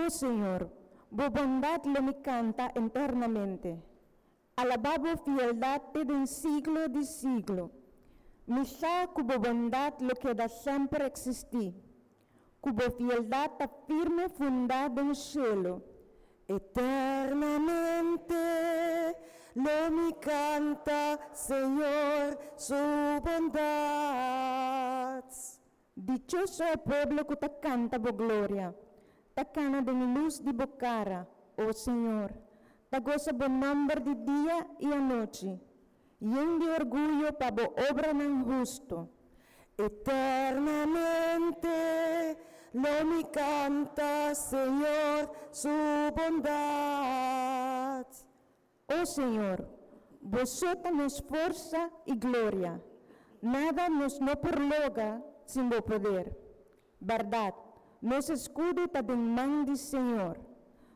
O Señor, bo bondat lo mi kanta eternamente. Alabá bo fieldat te den siglo di siglo. Mi sa ku bo bondat lo keda semper eksistí, ku bo fieldat ta firme fundá den shelu. Eternamente lo mi kanta Señor su bondat. Dichoso e pueblo ku ta kanta bo gloria, ta kana den lus di bo kara, o Señor, ta gosa bo nòmber di dia i anochi, yen di orguyo pa bo obranan hustu. Eternamente lo mi kanta Señor su bondat. O Señor, bo so ta nos forsa i gloria. Nada nos no por logra sin bo poder. Bèrdat, nos eskudo ta den man di Señor,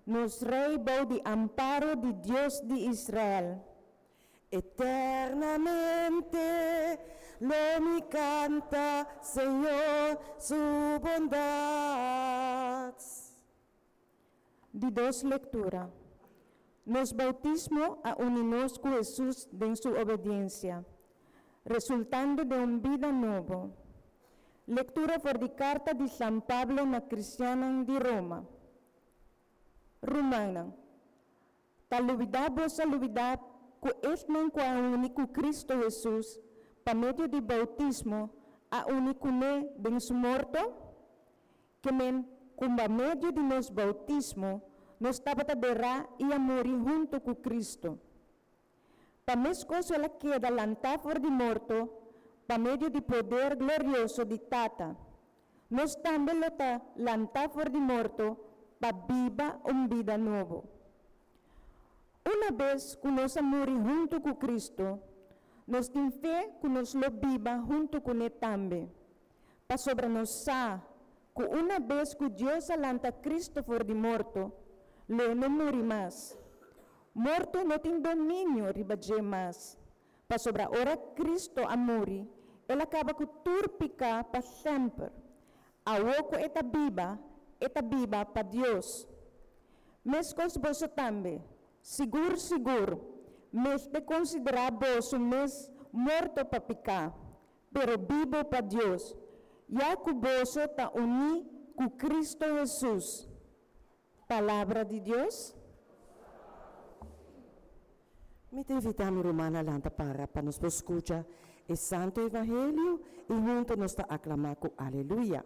nos Rei bou di amparo di Dios di Israel. Eternamente lo mi kanta Señor su bondat. Di dos lektura. Nos boutismo a uni nos ku Hesus den su obediensia, resultando den un bida nobo. Lektura for di karta di San Pablo na kristiannan di Roma. Rumannan, ta lubidá boso a lubidá ku esnan ku a uni ku Kristu Hesus pa medio di boutismo a uni kuné den su morto? Ke men ku pa medio di nos boutismo nos tabata derá i a muri huntu ku Kristu. Pa meskos el a keda lantá for di morto pa medio di poder glorioso di Tata, nos tambe lo ta lantá for di morto pa biba un bida nobo. Unabes ku nos a muri huntu ku Kristu, nos tin fe ku nos lo biba huntu kuné tambe. Pasobra nos sa ku unabes ku Dios a lanta Kristu for di morto, lo e no muri mas. Morto no tin dominio riba dje mas, pasobra ora Kristu a muri, el a kaba ku tur piká pa semper. Awor ku e ta biba, e ta biba pa Dios. Meskos boso tambe, sigur sigur, mester konsiderá boso mes morto pa piká, pero bibu pa Dios, ya ku boso ta uní ku Kristu Hesus. Palabra di Dios. Mi ta invitá mi rumannan lanta para pa nos por skucha e Santu Evangelio i huntu nos ta aklamá ku Aleluya.